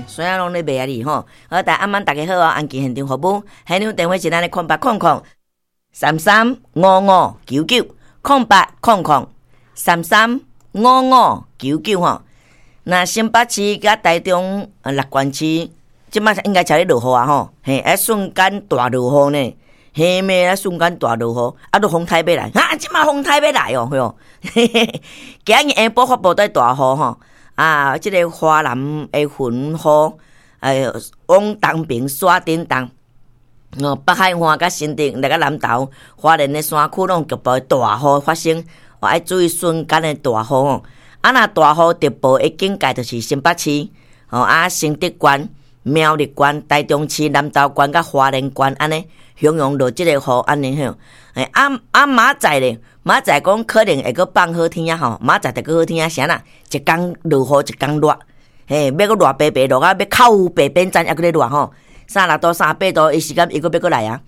孫仔攏咧罵啊你吼。好，大暗晚大家好哦，安琪現場服務，現場電話是咱的0800335599，0800335599吼。那新北市佮台中六縣市，這擺應該才咧落雨啊吼，嘿，啊瞬間大落雨呢，嘿咩啊瞬間大落雨，啊都風台欲來，啊這擺風台欲來哦，吼，嘿嘿，今日下晡發布在大雨吼，啊，這个華南的雲雨，哎，往東邊徙振動，哦，北海岸佮新竹來佮南投、花蓮的山區攏局部大雨發生，哦，愛注意瞬間的大雨吼。啊，若大雨特報的警戒就是新北市，吼啊，新竹縣、苗栗縣、台中市、南投縣佮花蓮縣按呢，形容落這个雨按呢吼。欸，啊啊，明仔載咧，明仔載講可能會閣放好天啊吼，明仔載就閣好天啊，啥啦？一工落雨，一工熱，嘿，欲閣熱白白落啊，欲靠北邊站猶閣咧熱吼，36度、38度，伊時間伊閣欲閣來啊，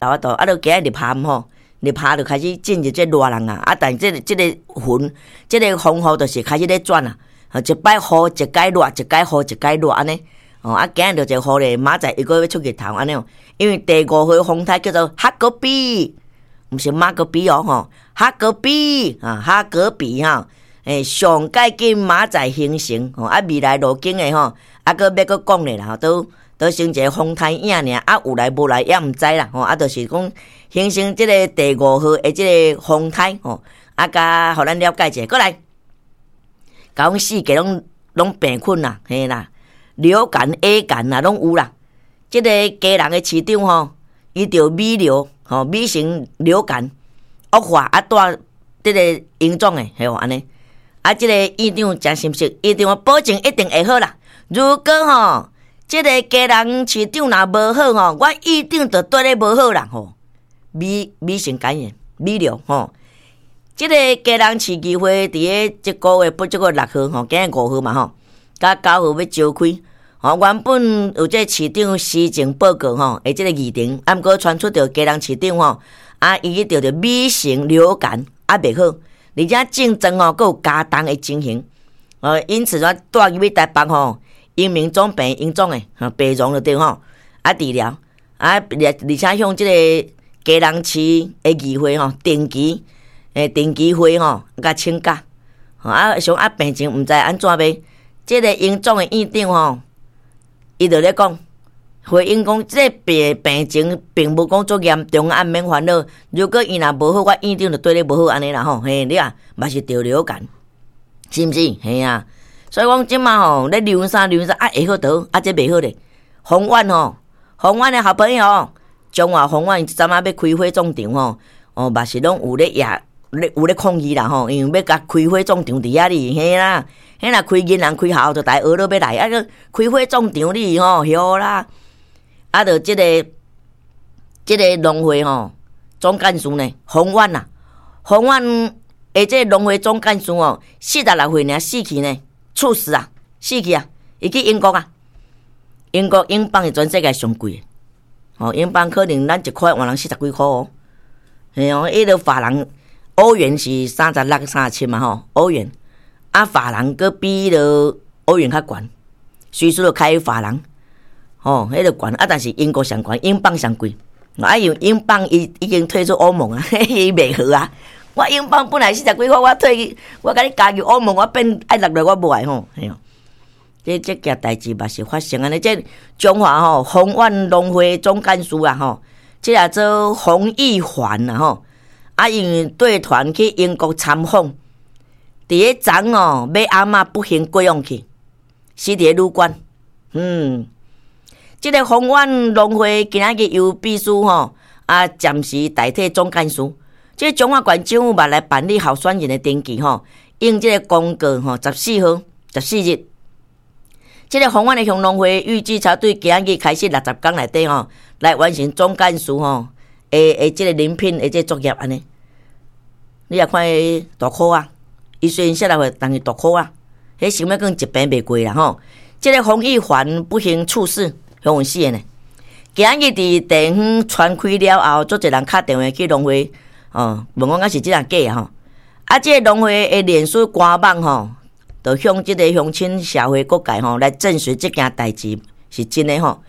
有法度，啊，著今仔入夏吼。入夏就開始進入這熱人啊，啊，但這個這個雲，這個風雨就是開始咧轉啊，一擺雨一擺熱，一擺雨一擺熱按呢。哦，啊，今日就一個雨咧，明仔載又閣欲出日頭按呢哦。因為第五號風台叫做哈格比，毋是馬格比哦吼，哈格比啊，哈格比哈，欸，上蓋緊明仔載形成吼，啊，未來路徑的吼，啊，閣欲閣講咧啦吼，都。都成一個風台影爾，啊有來無來也毋知啦吼，啊就是講形成這个第五號的這个風台吼，啊共予咱了解者，閣來，共阮四界攏攏病菌啦，嘿啦，流感 A 感啦，攏有啦。這个基隆的市長吼，伊著米流吼，米型流感惡化啊，帶這个榮總的，嘿按呢。啊，這个院長誠心實，院長保證一定會好啦。如果吼，這个基隆市長若無好吼，我一定就對咧無好啦吼。米米型肝炎，米流吼。這个基隆市議會佇咧這个月不這個6號吼，今日5號嘛吼，佮9號欲召開吼。原本有這個市長施政報告吼，的這个議程，啊，毋過傳出著基隆市長吼，啊，伊去著著米型流感啊，袂好，而且症狀吼，閣有加重的情形，因此說帶入去台北吼。榮民總病榮總的，吼，病床就對吼，啊治療，啊而而且向這个基隆市的議會吼，定期，欸，定期會吼，共請假，啊想啊病情毋知按怎欲，這个榮總的院長吼，伊就咧講，回應講，這个病病情並無講足嚴重，啊毋免煩惱。如果伊若無好，我院長就對你無好按呢啦吼，嘿，你啊嘛是著流感，是毋是？嘿啊。所以講這馬吼咧流啥流啥啊會好倒，啊這袂好咧。豐原吼，豐原的好朋友，中華豐原這陣仔欲開火葬場吼，哦嘛是攏有咧也咧有咧抗議啦吼，因為欲共開火葬場佇遐哩，嘿啦，彼若開銀行開校就大家學落欲來，啊閣開火葬場你吼，曉啦，啊著這个這个農會吼總幹事呢，豐原啊，豐原的這個農會總幹事哦，46歲爾死去呢。猝死啊！死去啊！伊去英國啊！英國英鎊是全世界上貴的，哦，英鎊可能咱一塊換人四十幾箍哦。嘿哦，彼个法郎、歐元是36、37嘛吼，歐元啊，法郎閣比彼个歐元較懸，隨時都開法郎，吼，彼个懸啊，但是英國上懸，英鎊上貴，啊，因為英鎊伊已經退出歐盟啊，伊袂好啊。我英鎊本來四十幾箍，我退，我共你加入歐盟，我變愛落來，我無愛吼，嘿哦。這這件代誌嘛是發生按呢，這中華吼豐原農會總幹事啊吼，這個做洪玉環啊吼，啊因為帶團去英國參訪，佇咧昨哦，欲暗仔不幸過往去，死佇咧旅館。嗯，這个豐原農會今仔日由秘書吼啊暫時代替總幹事。這彰化縣政府嘛來辦理候選人的登記吼，應這个公告吼，14號、14日，這个豐原的鄉農會預計才對今日開始60工內底吼，來完成總幹事吼，的的這个遴聘的這個作業按呢。你也看彼大箍啊，伊雖然46歲，但是大箍啊，彼想欲講一病袂過啦吼。這个洪玉環不幸猝死，予人死的呢。今日佇地方傳開了後，足濟人敲電話去農會。哦，問講敢是這樣假吼？啊，這个農會的臉書官網吼，就向這个鄉親社會各界吼來證實這件代誌是真的吼。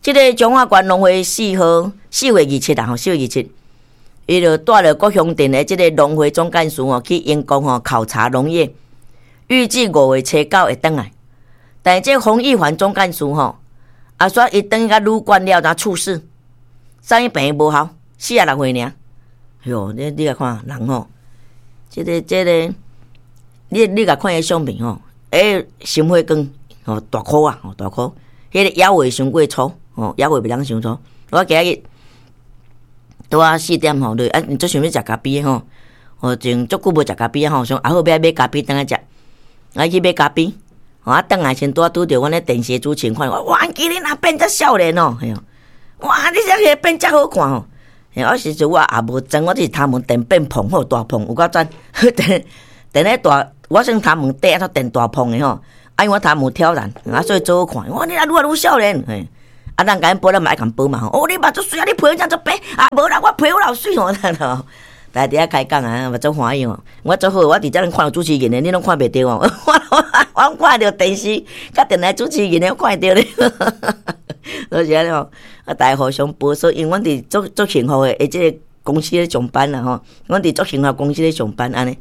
這个彰化縣農會4號4月27啦吼，4月27，伊就帶著各鄉鎮的這个農會總幹事吼去英國吼考察農業，預計5月初9會轉來。但是這洪玉環總幹事吼，啊，煞伊轉去旅館了，才猝死，送去病院無效，46歲爾。喲，你共看人吼，這個，你共看彼相片吼，欸，心血管吼大箍啊，吼大箍，彼个腰圍傷過粗，吼腰圍袂當傷粗。我今日拄仔4點吼，就啊，足想欲食咖啡吼，哦，前足久無食咖啡吼，想啊好欲愛買咖啡轉來食，啊去買咖啡，吼啊轉來時拄仔拄著阮咧電視主持人看，哇，今日若變遮少年哦，嘿哇，你這個變遮好看吼。我時陣我也無妝，我只是頭毛電變蓬好大蓬，有夠讚。電電咧大，我算頭毛短，啊電大蓬的吼。啊，因為我頭毛挑染，啊所以做好看。我你若愈來愈少年，嘿。啊，人共阮報，咱嘛愛共報嘛吼。哦，你目足媠啊，你皮膚這足白啊，無啦，我皮膚老媠吼。大家佇遐開講啊，嘛足歡喜吼。我足好，我佇遮攏看著主持人的，你攏看袂著哦。我攏看著電視，佮電台主持人的，我看會著咧。就是按呢吼，啊，大家互相報說，因為阮佇足足幸福的，這个公司咧上班啦吼，阮佇足幸福公司咧上班按呢。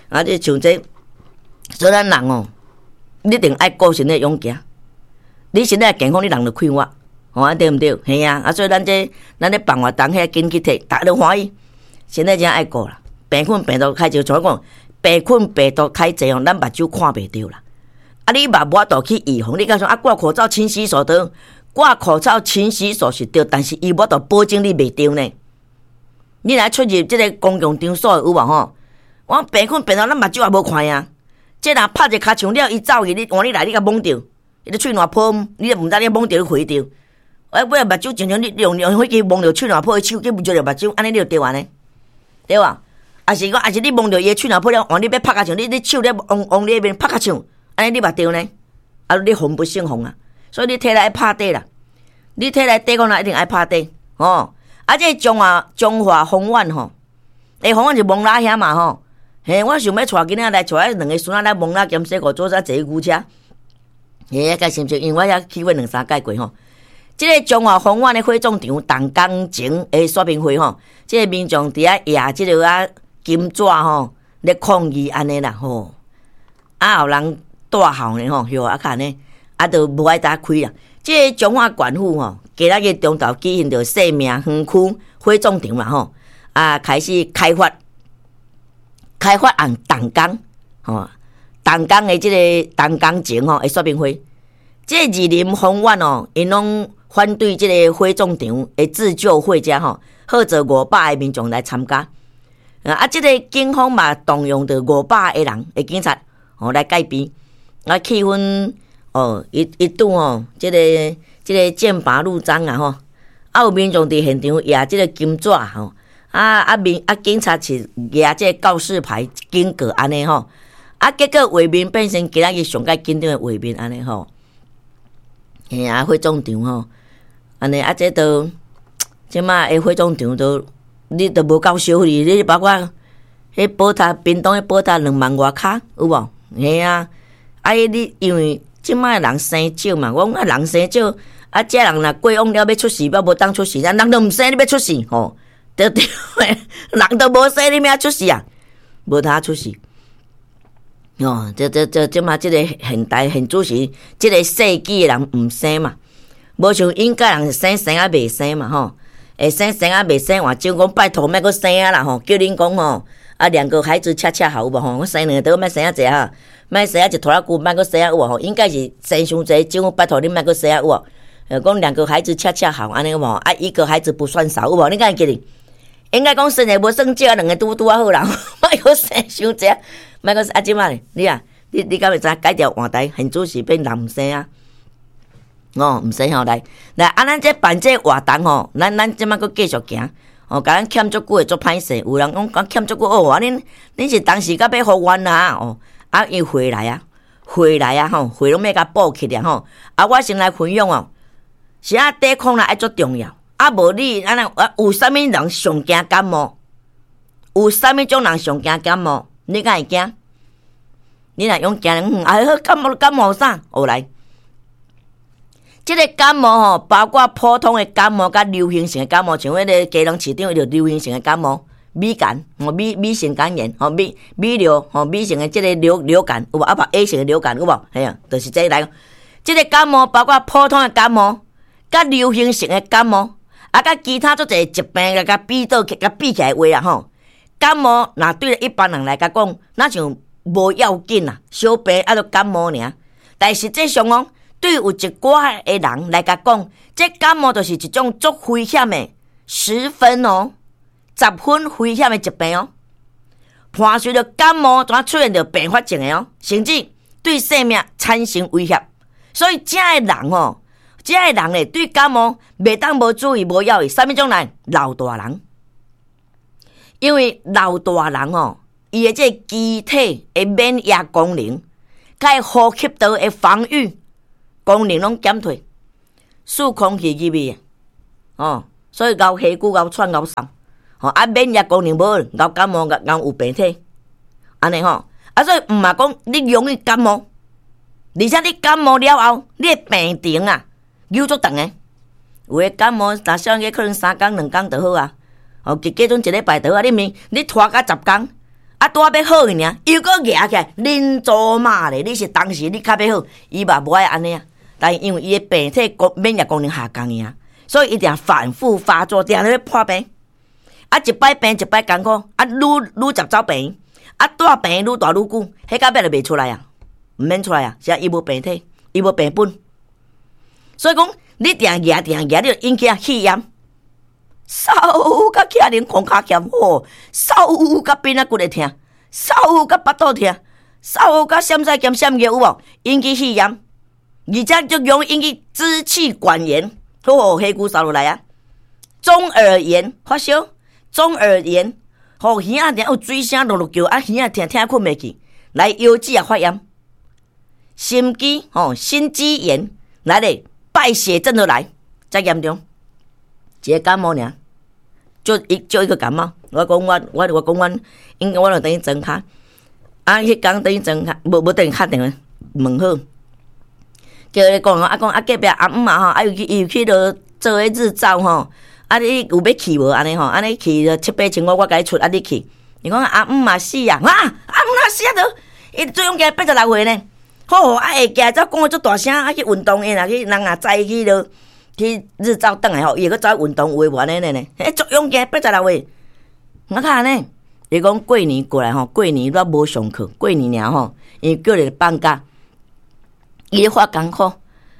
啊，這像這，所以咱人哦，你一定愛顧身體勇行。你身體健康，你人就快活，吼，按對毋對？嘿啊，啊，所以咱這咱咧辦活動，遐緊去摕，逐家攏歡喜。身體真愛顧啦，病菌病毒較濟，像我講，病菌病毒較濟吼，咱目睭看袂著啦。啊，你嘛無法度去預防，你敢說啊？掛口罩、勤洗手對，掛口罩、勤洗手是對，但是伊無法度保證你袂著呢。你若出入這个公共場所有無吼？我病菌病毒咱目睭也無看啊。這若拍一跤槍了，伊走去，你換你來，你共摸著，伊個喙瀾泡，你毋知你摸著你回著。啊，尾目睭常常你用用火機摸著喙瀾泡，手去摸著目睭，按呢你就著按呢，對無？抑是講，抑是你摸著伊的喙瀾泡了，換你欲拍跤槍，你手咧往往你彼邊拍跤槍，按呢你嘛著呢？啊，你防不勝防啊！所以你體內愛拍底啦，你體內抵抗力一定愛拍底吼。啊，這個彰化豐原吼，欸，豐原是蒙拉遐嘛吼。嘿，我想欲帶囡仔來，帶兩个孫仔來蒙拉兼洗褲，做啥坐牛車？嘿，較心情，因為我遐去過兩三擺過吼。這个彰化豐原的火葬場，動工前的說明會吼，這个民眾佇遐攑這个啊金紙吼，咧抗議按呢啦吼。啊，有人大吼呢吼，許啊較呢，啊，都無愛打開啦。這个彰化縣府吼，今仔日中晝舉行著生命園區火葬場啦吼，啊，開始開發。開發案動工，吼，動工的這个動工前吼，的說明會，這個二林豐原哦，𪜶攏反對這个火葬場的自救會遮吼，號召500个民眾來參加。啊，這个警方嘛動用著500个人的警察吼來戒備，啊，氣氛哦一度吼，這個劍拔弩張啊吼，啊有民眾佇現場攑這个金紙吼。啊啊民啊警察是舉這个告示牌警告按呢吼，啊結果畫面變成今仔日上蓋緊張的畫面按呢吼，嘿啊火葬場吼，按呢啊這都這馬的火葬場都你都無夠燒哩，你包括彼寶塔屏東的寶塔2萬外跤有無？嘿啊，啊你因為這馬的人生少嘛，我講啊人生少，啊這人若過往了欲出世，猶無當出世，啊人都毋生，你欲出世吼？對對，人都無生，你欲按出世啊？無通出世。哦，這這這這馬這个現代現主時，這个世紀的人毋生嘛，無像以前人生生啊袂生嘛吼，會生生啊袂生，換種講拜託莫閣生啊啦吼，叫恁講吼，啊兩個孩子恰恰好有無吼？我生兩個，莫生啊濟哈，莫生啊一拖拉庫，莫閣生啊有無吼？應該是生傷濟，政府拜託恁莫閣生啊有無？講兩個孩子恰恰好按呢有無？啊一個孩子不算少有無？你敢會記得？應該講生一個無算少，兩個拄拄仔好啦，莫閣生傷濟，莫閣啊這馬你啊，你敢會知改朝換代，現主時變人毋生啊？哦，毋生吼來來啊！咱這辦這個活動吼，咱這馬閣繼續行哦，共咱欠足久的足歹勢，有人講講欠足久哦，啊恁恁是當時甲欲復原啊哦，啊伊回來啊，回來啊吼，回攏欲共補起來吼。啊，我先來分享哦，是啊，抵抗力愛足重要。啊，無你按呢啊？有啥物人上驚感冒？有啥物種人上驚感冒？你敢會驚？你若勇驚，哎，感冒感冒啥？哦來，這个感冒吼，包括普通的感冒佮流行性的感冒，像彼个基隆市長伊就流行性的感冒，米肝，吼米米型肝炎，吼米米流，吼米型的這个流感有無？啊無 A 型的流感有無？嘿啊，就是這來。這个感冒包括普通的感冒，佮流行性的感冒，啊，佮其他足濟疾病共比倒共比起來話啊吼，感冒若對一般人來講，若像無要緊啦，小病啊，就感冒爾。但實際上哦，對有一寡的人來講，這感冒就是一種足危險的，10分哦，10分危險的疾病哦。伴隨著感冒，就出現著併發症的哦，甚至對生命產生威脅。所以，這个人哦，這个人咧，對感冒袂當無注意、無要意。啥物種人？老大人，因為老大人哦，伊的這個機體的免疫功能，佮呼吸道的防禦功能攏減退，輸空氣入去，哦，所以𠢕氣久、𠢕喘、𠢕嗽，吼啊，免疫功能無，𠢕感冒、𠢕有病體，按呢吼，啊，所以毋嘛講你容易感冒，而且你感冒了後，你的病程啊，久足長的，有的感冒，若小可能3工2工就好啊，哦，加陣一禮拜就好啊，你毋你拖甲10工。啊，拄仔欲好去爾，又閣夯起來，恁祖媽咧！你是當時你較欲好，伊嘛無愛按呢啊。但是因為伊的病體功免疫功能下降爾，所以伊定反覆發作，定咧破病。啊，一擺病一擺艱苦，啊，愈愈捷走病，啊，蹛病愈蹛愈久，彼到尾就袂出來啊，毋免出來啊，是啊，伊無病體，伊無病本。所以講，你定夯定夯，你就引起啊肺炎。嗽甲徛連空跤欠吼，嗽甲邊仔骨會疼，嗽甲腹肚疼，嗽甲閃屎兼閃尿有無？引起肺炎，而且就容易引起支氣管炎，好，氣球掃落來啊！中耳炎發燒，中耳炎，吼耳仔定有水聲嚕嚕叫，啊耳仔疼疼睏袂去，來腰子也發炎，心肌吼心肌炎來咧，敗血症都來，遮嚴重，一个感冒爾。就一個感冒，我講我講阮，應該我就等於裝跤，啊，彼工等於裝跤，無無等於敲電話問好，叫伊講啊講啊隔壁阿姆嘛吼，啊又去伊有去落做彼日照吼，啊你有欲去無按呢吼？按呢去七八千塊我共你出，啊你去，伊講阿姆嘛死啊，啊阿姆若死啊著，伊最勇健86歲呢，好啊會行走講得足大聲，啊去運動的若去人若早去落。去日照轉來吼，伊會閣走運動有的無按呢呢？欸，足勇健86歲，我看按呢，伊講過年過來吼，過年煞無上課，過年爾吼，因為叫咧放假，伊咧發艱苦，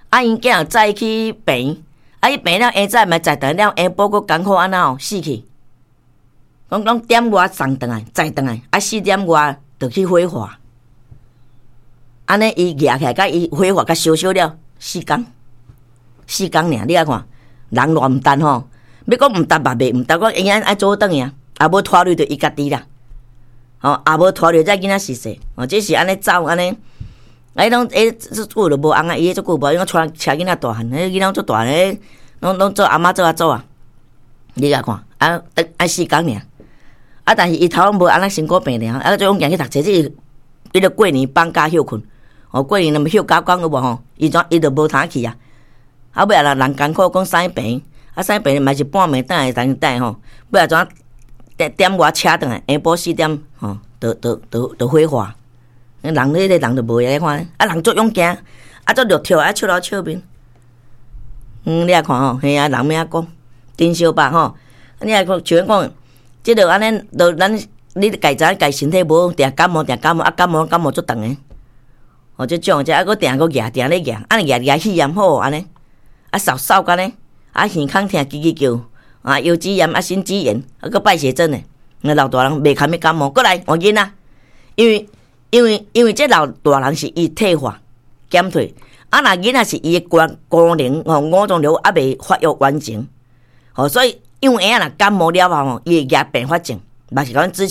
啊，𪜶囝早去病院，啊，伊病了下早嘛載轉來了，下晡閣艱苦按怎哦，死去，講講點外送轉來，載轉來，啊，4點外就去火化，按呢伊夯起來，佮伊火化佮燒燒了，四工。四工爾，你來看，人偌毋值吼？欲講毋值嘛袂毋值，講永遠愛做轉去啊，啊無拖累著伊家己啦，吼，啊無拖累這囡仔是勢，哦，這是按呢走按呢，啊，伊攏欸這久就無翁啊，伊這久無，因為帶車囡仔大漢，彼囡仔足大漢，攏攏做阿媽做阿祖啊，你來看，啊，等愛四工爾，啊，但是伊頭無按呢辛苦病爾，啊，做勇健去讀冊，這是伊著過年放假歇睏，哦，過年若毋歇9工有無吼？伊怎伊就無通去啊？啊，尾仔人人艱苦，講送去病院，啊，送去病院嘛是半暝轉來等等吼，尾仔怎點點外車轉來，下晡4點吼，就火化。人彼个人就無閒看，啊，人足勇健，啊，足樂跳，啊，笑頭笑面。嗯，你來看吼，嘿啊，人欲按怎講，真相吧吼？你來看，像講，這个按呢，就咱你家知影家身體無好，定感冒，定感冒，啊，感冒感冒足長的。哦，這種這啊，閣定閣夯，定咧夯，啊，夯夯肺炎好按呢。啊，嗽嗽甲呢，啊，耳孔疼，吱吱叫，啊，腰子炎，啊，心肌炎，啊，閣敗血症呢。那老大人袂堪欲感冒，閣來換囡仔，因為這老大人是伊退化減退，啊，若囡仔是伊的功功能吼五臟六腑猶未發育完成，吼，所以幼嬰仔若感冒了後吼，伊會惹併發症，嘛是講支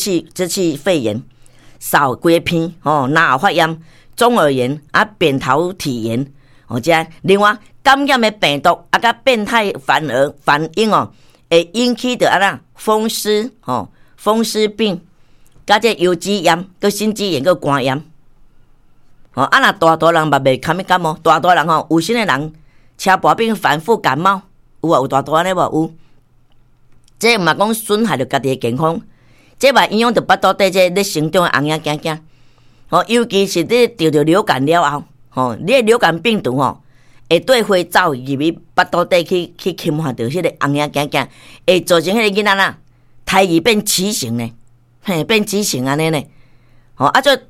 氣肺炎、嗽規个鼻吼，咽喉發炎、中耳炎啊、扁桃體炎，吼這另外感染的病毒啊，佮變態反而反應哦，會引起著按怎風濕吼，風濕病，佮這腰子炎、佮心肌炎、佮肝炎，吼，啊若大大人嘛袂堪物感冒，大大人吼有身的人車跋病反覆感冒，有啊，有大大按呢無？有。這毋嘛講損害著家己的健康，這嘛影響著腹肚底這咧成長的紅嬰囝囝。吼，尤其是你著著流感了後，吼，你的流感病毒吼，會綴花走入去腹肚底去侵犯著彼個紅嬰囝囝，會造成彼個囡仔啦胎兒變畸形呢，嘿，變畸形按呢呢。吼，啊，這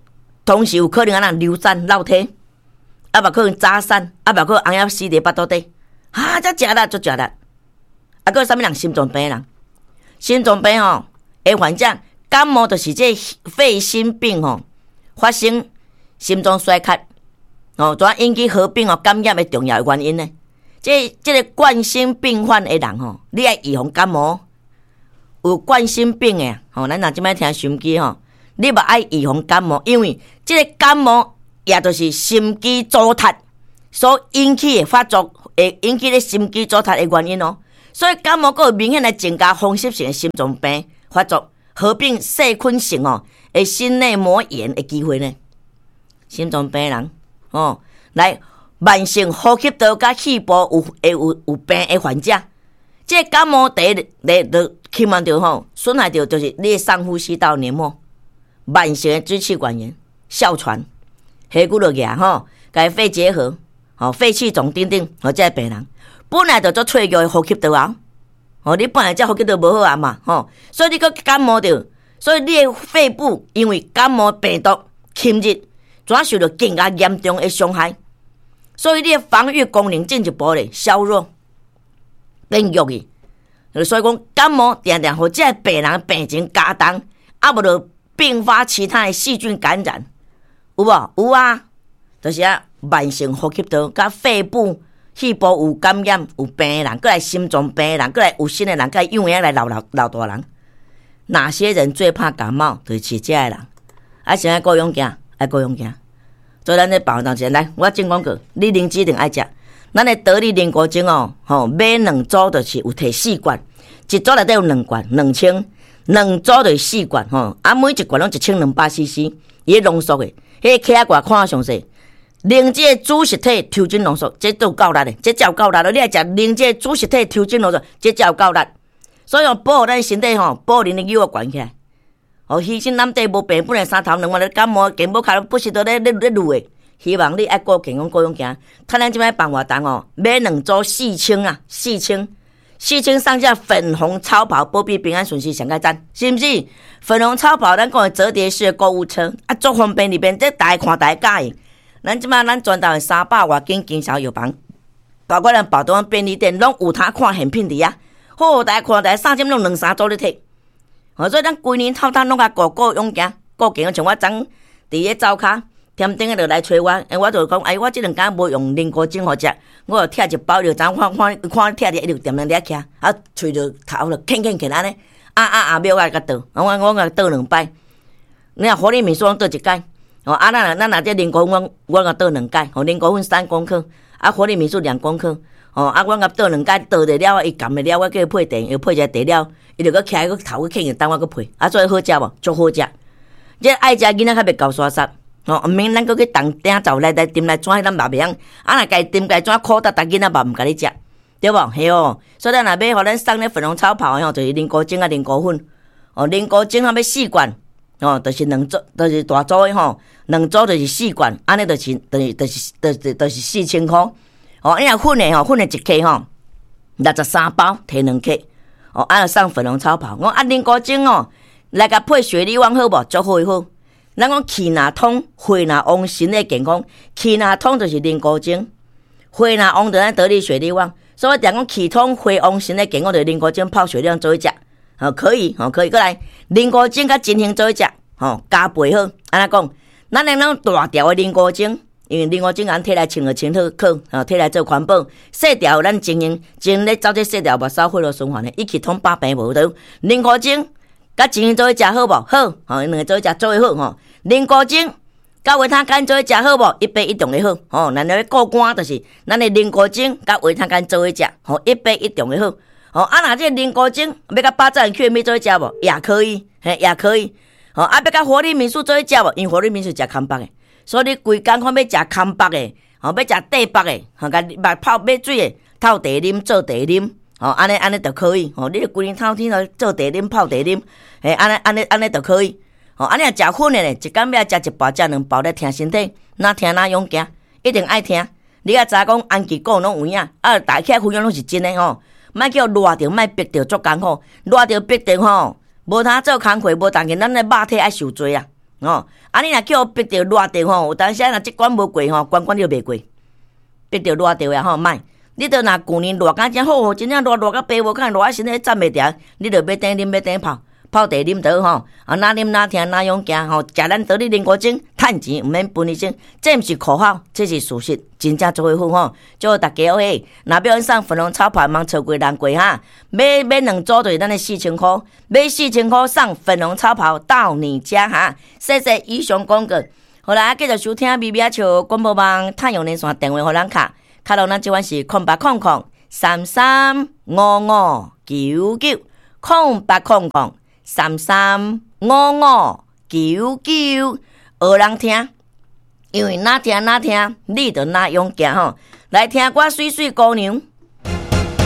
同時有可能按怎流產、落胎，啊嘛可能早產，啊嘛可能紅嬰死佇腹肚底，哈，遮食力足食力。啊，閣有啥物人心臟病的人？心臟病吼，的患者感冒就是這肺心病吼，發生心臟衰竭，哦，怎引起合併哦感染的重要原因呢？這個冠心病患的人吼，你愛預防感冒。有冠心病的吼，咱若這擺聽收音機吼，你嘛愛預防感冒，因為這個感冒也就是心肌阻塞所引起的發作，會引起咧心肌阻塞的原因哦。所以感冒閣有明顯來增加風濕性的心臟病發作，合併細菌性哦的心內膜炎的機會呢？心臟病人哦，來慢性呼吸道佮肺部有會有病的患者，這個感冒第一來就侵犯著吼，損害著就是你的上呼吸道黏膜，慢性的支氣管炎、哮喘、氣骨落牙吼，共肺結核、吼肺氣腫等等，吼這个病人本來就足脆弱的呼吸道啊，吼你本來這呼吸道無好啊嘛，吼，所以你閣感冒著，所以你的肺部因為感冒病毒侵入，怎受著更加嚴重的傷害，所以你的防禦功能進一步咧削弱，變弱去。所以講感冒定定予這个病人病情加重，啊無就併發其他的細菌感染，有無？有啊，就是啊，慢性呼吸道佮肺部、肺部有感染、有病的人，閣來心臟病的人，閣來有身的人，閣來幼嬰來老老老大人，哪些人最怕感冒？就是這个人。啊，啥愛顧勇健，愛顧勇健。所以咱咧保當前來，我進廣告，你靈芝一定愛食。咱的得力靈菇精哦，吼，買兩組就是有提四罐，一組內底有兩罐，2000，兩組就是四罐吼。啊，每一罐攏1200 cc，伊濃縮的，彼個克仔罐看詳細。靈芝的子實體抽真濃縮，這都夠力的，這才有夠力咯。你愛食靈芝子實體抽真濃縮，這才有夠力。所以保護咱身體吼，保護恁的尿懸起來。哦，虛心攬地無病，本來三頭兩腕咧感冒，健保卡不時都咧咧咧攄的。希望你愛顧健康，顧勇健。趁咱這擺辦活動哦，買兩組四千啊，四千，四千上下粉紅超跑，保庇平安順遂上蓋讚，是毋是？粉紅超跑，咱講的折疊式的購物車啊，足方便裡邊，這大家看大家喜歡。咱這擺咱全台灣300外間經銷藥房，包括咱寶東便利店，攏有通看現品佇遐。好，大家看大家三針攏兩三組咧提。哦，所以咱規年透冬攏共顧顧勇健，顧健康。像我昨佇咧灶跤，添頂個就來揣我，欸，我就講，哎，我這兩工無用靈菇精予食，我就拆一包，就昨看看看拆佇一直踮佇遐徛，啊，喙就頭就吭吭吭按呢，啊啊啊，秒仔共倒，我我共倒兩擺。你若活力米素攏倒一擺，哦，啊，咱若這靈菇粉，我共倒兩擺，吼，靈菇粉3公克，啊，活力米素2公克，哦，啊，我共倒兩擺，倒著了，伊含的了，我叫伊配茶，伊配一個茶了，伊就閣徛閣頭閣吭，等我閣配，啊，所以好食無？足好食。這愛食囡仔較袂厚沙沙，吼，毋免咱閣去重鼎灶來來斟來怎，咱嘛袂曉。啊，若家己斟家怎苦沓沓，囡仔嘛毋共你食，對無？嘿哦，所以咱若欲予咱送咧粉紅超跑吼，就是靈菇精佮靈菇粉。哦，靈菇精欲四罐，哦，就是兩組，就是大組的吼，兩組就是四罐，按呢就是，就是，就是，就是就是4000箍。哦，你若粉的吼，粉的一克吼，63包，提2克。哦，按呢送粉紅超跑。我啊，靈菇精哦，來共配雪利旺好無？足好的好。咱講氣若通，血若旺，身體健康。氣若通就是靈菇精，血若旺就咱得力雪利旺。所以我定講氣通血旺，身體健康，就靈菇精泡雪利旺做伙食。吼，可以，吼，可以。閣來靈菇精佮金杏做伙食，吼，加倍好。按怎講？咱的那種大條的靈菇精，因為靈菇精咱提來清就清好，可，吼，提來做環保。細條咱精英，精咧走這細條目屎血路循環的，一氣通百病無得。靈菇精佮精英做伙食好無？好，吼，兩個做伙食做伙好吼。靈菇精佮維他乾做伙食好無？一比一重的好，吼。咱咧顧肝就是咱的靈菇精佮維他乾做伙食，吼，一比一重的好。吼，啊，若這靈菇精欲佮八讚 Q 米做伙食無？也可以，嘿，也可以。吼，啊，欲佮活力米素做伙食無？因為活力米素食康巴的，所以你規工看欲食空腹的，吼，欲食短腹的，吼，共目泡欲水的，透茶啉做茶啉，吼，按呢按呢就可以，吼，你規日透天來做茶啉泡茶啉，嘿，按呢按呢按呢就可以，吼，按呢若食粉的咧，一工欲食一包食兩包咧疼身體，若疼若勇行，一定愛聽。你愛知講安吉講攏有影，啊，大起來分享攏是真的吼，莫叫熱著，莫逼著足艱苦，熱著逼著吼，無通做工課，無當見咱的肉體愛受罪啊，吼！啊，你若叫逼著熱著吼，有當時若這關無過吼，關關你就袂過，逼著熱著啊吼，莫！你著若舊年熱甲真好，真正熱熱甲爸母看熱啊身體站袂牢，你著欲等啉欲等泡。泡茶啉著吼，啊，若啉若疼若勇行吼，食咱得力靈骨精，趁錢毋免分醫生，這毋是口號，這是事實，真正做伙好吼。祝大家好，若欲送粉紅草跑，毋通錯過人過哈。買買兩組就是咱的四千箍，買四千箍送粉紅草跑到你家哈。謝謝以上廣告。好啦，繼續收聽微微仔笑廣播網太陽連線電話予咱敲，敲到咱這款是0800335599，0800335599，學人聽，因為若聽若聽，你就若勇行吼。來聽歌，媠媠姑娘。